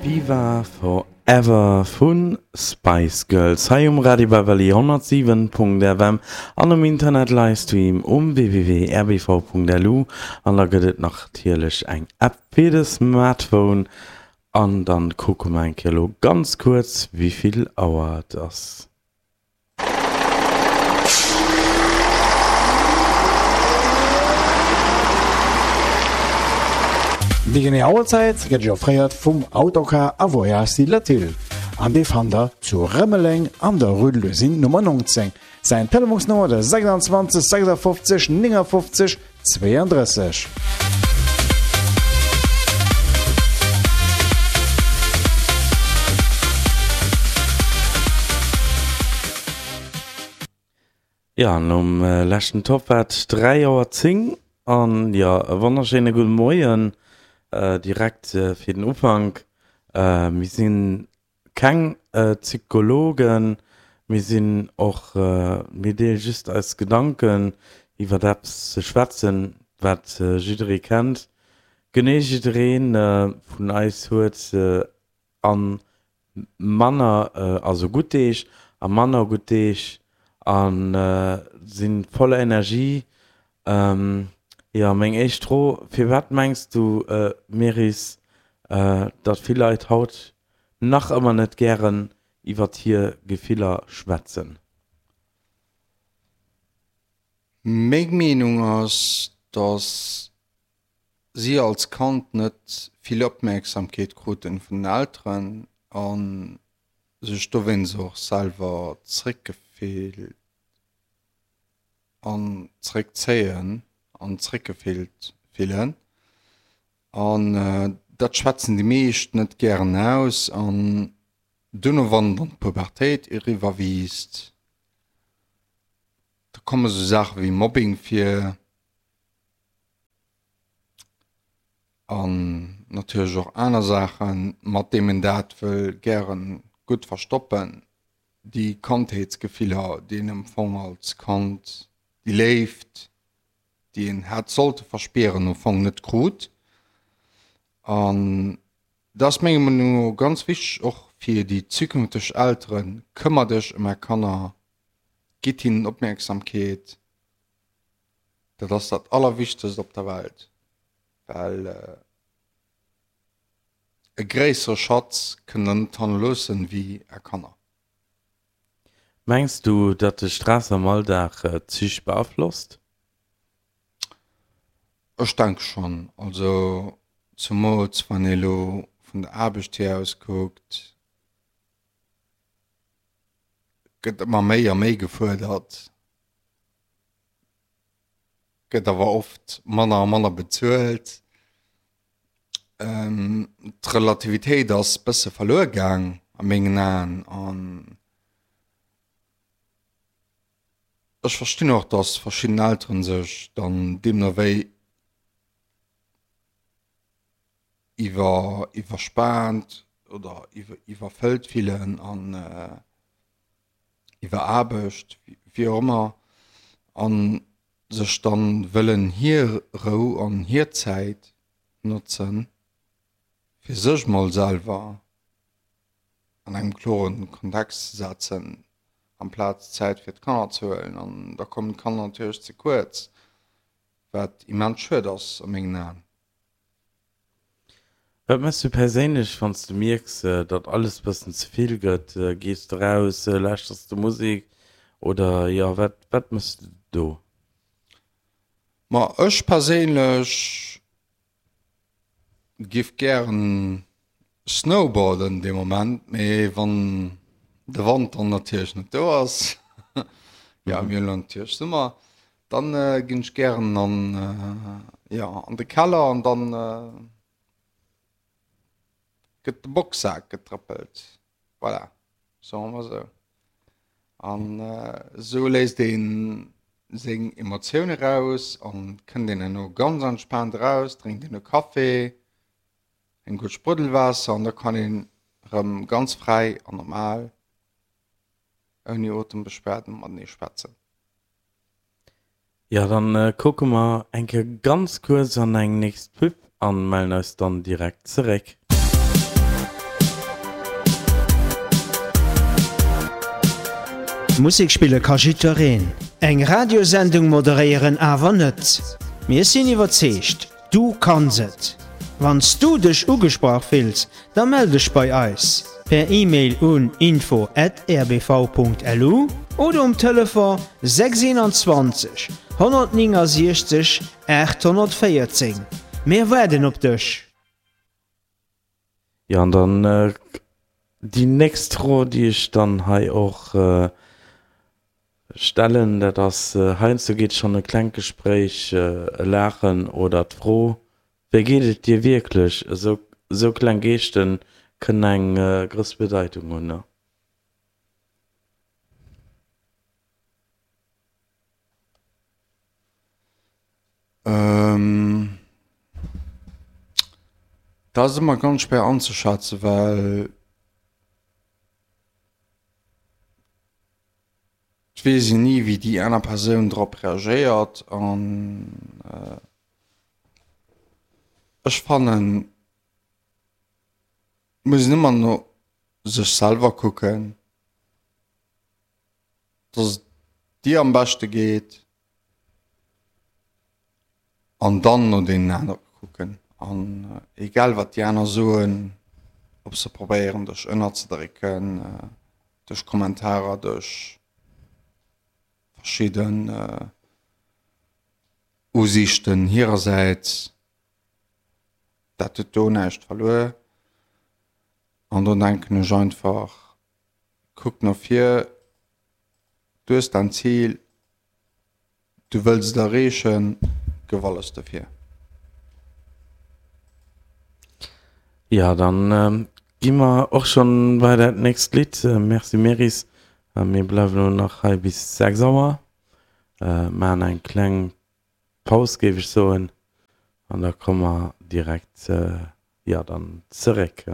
Viva Forever vu Spice Girls hei um Radio Beverly 107.fm an um Internet Livestream um www.rbv.lu an da gëtt et natierlech eng App fir de Smartphone an dann kucke mer eng Kéier elo ganz kuerz wéivill Auer et ass. Déi genee Auerzäit gëtt Iech offréiert vum Autocar a Voyage Latil an dee fannt der zu Rëmeleng an der Rue de l'Usine Nummer 19. Säin Telefonsnummer de 26 56 59 32. Jo, nom leschten Topp war et 3 Auer 10 an jo, e wonnerschéine gudde Moien direkt fir den Ufank. Mir sinn Keng Psychologen, mir sinn och, mir deele just eis Gedanken iwwert eppes ze schwätzen, wat jidderee kennt. Genee jidderee vun eis huet a manner, also gutt Deeg a manner gutt Deeg a si voller Energie. Jo, meng éischt Fro, Firwat mengs du, Meris, datt vill Leit haut nach ëmmer net gären iwwert hir Gefiller schwätzen? Meng Meenung ass, datt si als Kand net vill Opmierksamkeet kruten vun den Elteren a sech dowéinst och selwer zréckgefillt an zréckzéien an zréckgefillt fillen. An dat schwätzen déi meescht net gären aus. An duerno, wann dann d'Pubertéit eriwwer wiisst, da komme sou Saache wéi Mobbing vir an natierlech och aner Saachen, mat deem een dat wëll gäre gutt verstoppen, déi Kandheetsgefiller, déi een am Fong als Kand, déi Léift, déi een hätt sollte verspieren, am Fong net krut. An dat ass menger Meenung no ganz wichteg, och fir déi zukünfteg Elteren, Këmmert iech ëm är Kanner, gitt hinnen Opmierksamkeet, dat ass dat Allerwichtegst op der Welt, well e gréissere Schatz kënnt der net hannerloossen, wéi är Kanner. Mengs du, datt de Stress am Alldag d'Psych beaflosst? Ech denke schonn. Also zumools wann ee lo vun der Aarbecht hier aus kuckt, gëtt ëmmer méi a méi gefuerdert, gëtt awer oft manner a manner bezuelt. D'Relativitéit ass bësse verluer gaang a mengen Aen an ech verstinn och, datt verschidden Elteren sech dann deemno wéi iwwer iwwerspaant oder iwwer iwwerfëllt fillen an iwweraarbecht, wéi och ëmmer, an sech dann wëllen hir Rou an hir Zäit notzen, fir sech mol selwer an engem kloren Kontext ze setzen, amplaz Zäit fir d'Kanner ze huelen. An da kommen d'Kanner natierlech ze kuerz, wat immens schued ass a mengen Aen. Wat méchs du perséinlech, wann s de mierks, datt alles bëssen ze vill gëtt? Gees de raus, lauschters de Musek oder jo, wat wat méchs de do? Ma ech perséinlech giff gären snowboarden dee Moment, mee wann de Wand dann natierlech net do ass, jo mir hunn elo natierlech Summer, Dann ginn ech gären an, jo, an de Keller an dann gëtt de Boxsak getrëppelt. Voilà, soe mer esou. An esou léisst ee seng Emotioune raus an kënnt een herno ganz entspaant eraus, drénkt een e Café, eng gutt Spruddelwaasser an da kann een erëm ganz fräi an normal ouni Otembeschwerden matenee schwätzen. Jo, dann kucke mer eng Kéier ganz kuerz an eng nächst Pub an mellen eis dann direkt zeréck. Musek spille ka jiddwereen, eng Radiosendung moderéieren awer net. Mir sinn iwwerzeegt, du kanns et! Wann s du dech ugesprach fills, da mell dech bei eis per E-Mail un info at rbv.lu oder um Telefon 621 169 814. Mir waarden op dech! Jo, an dann déi nächst Fro, déi ech dann hei och stellen, dat ass, heiansdo geet schonn e klengt Gespréich, e Laachen oder d'Fro, Wéi geet et dir wierklech? Esou, esou kleng Geesten kënnen eng grouss Bedeitung hunn, ne? Dat ass ëmmer ganz schwéier anzeschätzen, well et weess een ni, wéi déi aner Persoun drop reagéiert. An ech fannen, et muss een ëmmer no sech selwer kucken. dass et dir am beschte geet an dann no deenen anere kucken an egal wat déi aner soen, ob se probéieren dech ënnerzedrécken duerch Kommentarer, duerch verschidden Usiichten hirersäits, dat huet do näischt verluer an do denken ech einfach, Kuck no vir, du hues däin Zil, du wëlls et erreechen, gëff alles dofir. Jo, dann gi mer och schonn bei dat nächst Lidd. Merci Meris. Mir bleiwen elo nach hei bis 6 Auer, maachen eng kleng Paus géif ech soen an da komme mer direkt, jo, dann zeréck.